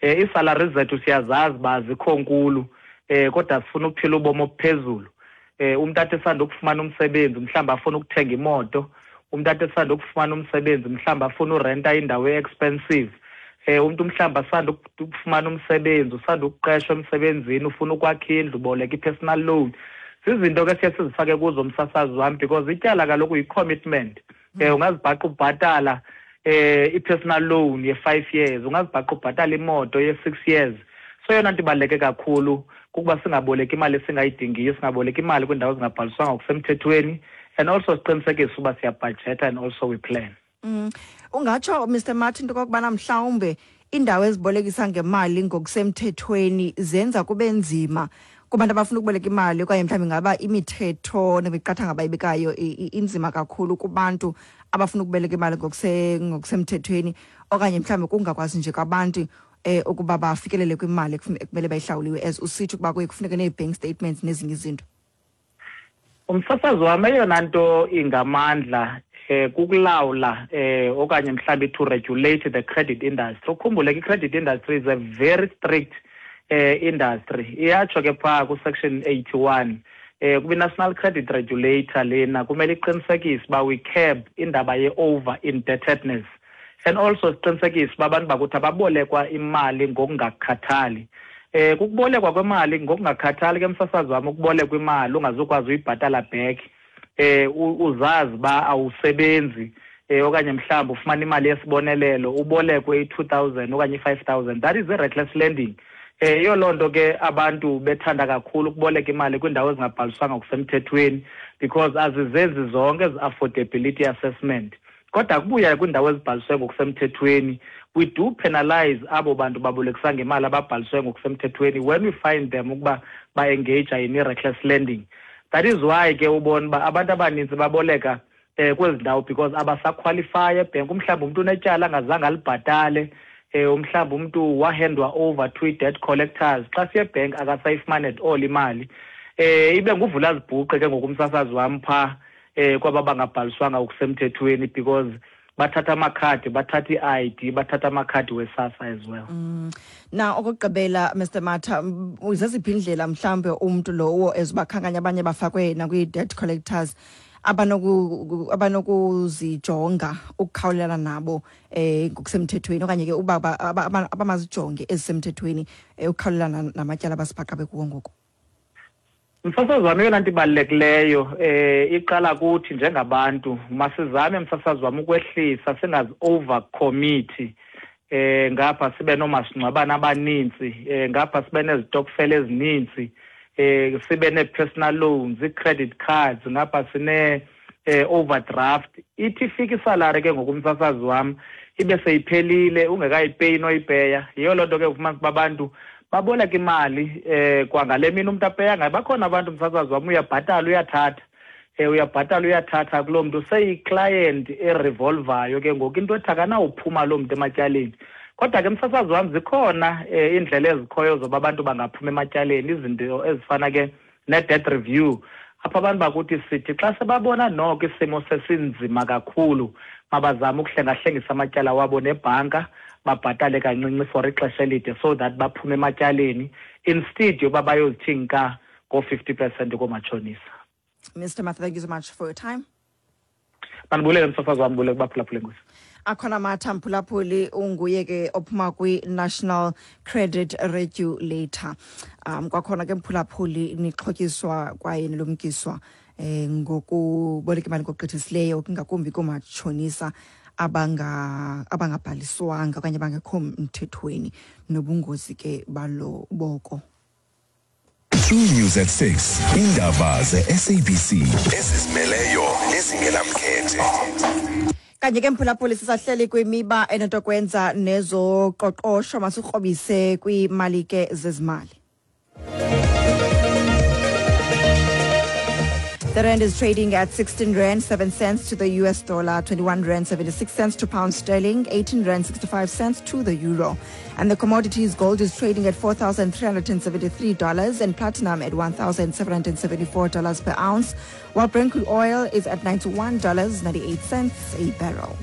Iisalari zethu siyazazi uba zikho nkulu, kodwa sifuna ukuphila ubomi obuphezulu. Umntu athi esanda ukufumana umsebenzi mhlawumbi afuna ukuthenga imoto, umntu athi esanda ukufumana umsebenzi mhlawumbi afuna urenta indawo e-expensive. Umntu mhlawumbi asanda ukufumana umsebenzi, usanda ukuqeshwa emsebenzini, ufuna ukwakha indlu, uboleka i-personal loan. Zizinto ke siye sizifake kuzo, msasazi wam, because ityala kaloku yi-commitment. Ungazibhaqa ubhatala i-personal loan ye-5 years, ungazibhaqa ubhatala imoto ye-6 years. So yona nto ibaluleke kakhulu kukuba singaboleki imali esingayidingiyo, singaboleki imali kwiindawo ezingabhaliswanga ngokusemthethweni, and also siqinisekise uba siyabhajetha and also we plan. Ungatsho, Mr Martin, into okokubana mhlawumbe iindawo ezibolekisa ngemali ngokusemthethweni zenza kube nzima kubantu abafuna ukuboleka imali, okanye mhlawumbi ingaba imithetho nemiqathango abayibekayo inzima kakhulu kubantu abafuna ukuboleka imali ngokusemthethweni, okanye mhlawumbi kungakwazi nje kwabantu ukuba bafikelele kwimali ekumele bayihlawuliwe, as usitsho ukuba kuye kufuneke nee-bank statements nezinye izinto? Umsasazi wam, eyona nto ingamandla kukulawula okanye mhlawumbi to regulate the credit industry. Ukhumbule ke, i-credit industry is a very strict industry. Iyatsho ke phaa ku-section 81 kubi-National Credit Regulator lena kumele iqinisekise uba we curb indaba ye-over indebtedness, and also siqinisekise uba abantu bakuthi ababolekwa imali ngokungakhathali. Kukubolekwa kwemali ngokungakhathali ke, msasazi wam, ukubolekwa imali ungazukwazi uyibhatala back, uzazi uba awusebenzi, okanye mhlawumbi ufumana imali yesibonelelo, ubolekwe i-2000 okanye i-5000, that is i-reckless lending. Yiyo loo nto ke abantu bethanda kakhulu ukuboleka imali kwiindawo ezingabhaliswanga ngokusemthethweni, because azizenzi zonke ezi-affordability assessment. Kodwa kubuya kwiindawo ezibhaliswe ngokusemthethweni, we do penalize abo bantu babolekisa ngemali ababhaliswe ngokusemthethweni when we find them ukuba ba-engage in i-reckless lending. That is why ke ubona uba abantu abanintsi baboleka kwezi ndawo, because abasakhwalifaya ebhenki. Umhlawumbi umntu unetyala angazange alibhatale, umhlawumbi umntu wahandwa over to i-debt collectors, xa siye ebhenki akasayifumani at all imali. Ibe nguvula zibhuqe ke ngoku, umsasazi wam, phaa kwaba bangabhaliswanga ngokusemthethweni, because bathatha amakhadi, bathatha i-ID, bathatha amakhadi weSASSA as well. Na okokugqibela, Mr Matha, zeziphi indlela mhlawumbe umntu lowo ezibakhankanya abanye bafakwe nakwi-debt collectors abanokuzijonga ukukhawulelana nabo ngokusemthethweni, okanye ke uba abamazijonge ezisemthethweni ukukhawulelana namatyala abasibhaqa bekuwo ngoku? Msasazi wam, eyona nto ibalulekileyo iqala kuthi njengabantu. Masizame, msasazi wam, ukwehlisa, singazi-over commit, ngapha sibe noomasingcwabane abanintsi, ngapha sibe nezitokfela ezininzi, sibe nee-personal loans, ii-credit cards, ngapha sine overdraft. Ithi ifika isalari ke ngoku, umsasazi wam, ibe seyiphelile ungekayipeyi noyipeya. Yiyo loo nto ke ufumanisa uba abantu baboleka imali kwangale mini umntu apeya ngayo. Bakhona abantu, umsasazi wam, uyabhatala uyathatha, uyabhatala uyathatha kuloo mntu, seyiclient erevolvayo ke ngoku, into ethi akanawuphuma loo mntu ematyaleni. Kodwa ke, msasazi wam, zikhona iindlela ezikhoyo zoba abantu bangaphuma ematyaleni, izinto ezifana ke ne-debt review, apho abantu bakuthi sithi xa sebabona noko isimo sesinzima kakhulu, mabazame ukuhlengahlengisa amatyala wabo nebhanka, babhatale kancinci for ixesha elide so that baphume ematyaleni, instead yoba bayozithi nka ngo-50% koomatshonisa. Mr Matha, thank you so much for your time. Mandibulele, msasazi wam, bulele kubaphulaphula, enkosi. Akhona Matha, mphulaphuli, unguye ke ophuma kwi-National Credit Regulator. Kwakhona ke, mphulaphuli, nixhotyiswa kwaye nilumkiswa ngokuboleka imali ngokugqithisileyo, ngakumbi koomatshonisa abangabhaliswanga okanye abangekho mthethweni, nobungozi ke balo boko. News at 6, indaba ze-SABC ezizimeleyo nezingenamkhethe. Kanye ke, mphulaphuli, sisahleli kwimiba enotokwenza nezoqoqosho. Masikrobise kwiimali ke zezimali. The rand is trading at 16 rand 7 cents to the US dollar, 21 rand 76 cents to pound sterling, 18 rand 65 cents to the euro. And the commodities: gold is trading at $4,373 and platinum at $1,774 per ounce, while Brent crude oil is at $91.98 a barrel.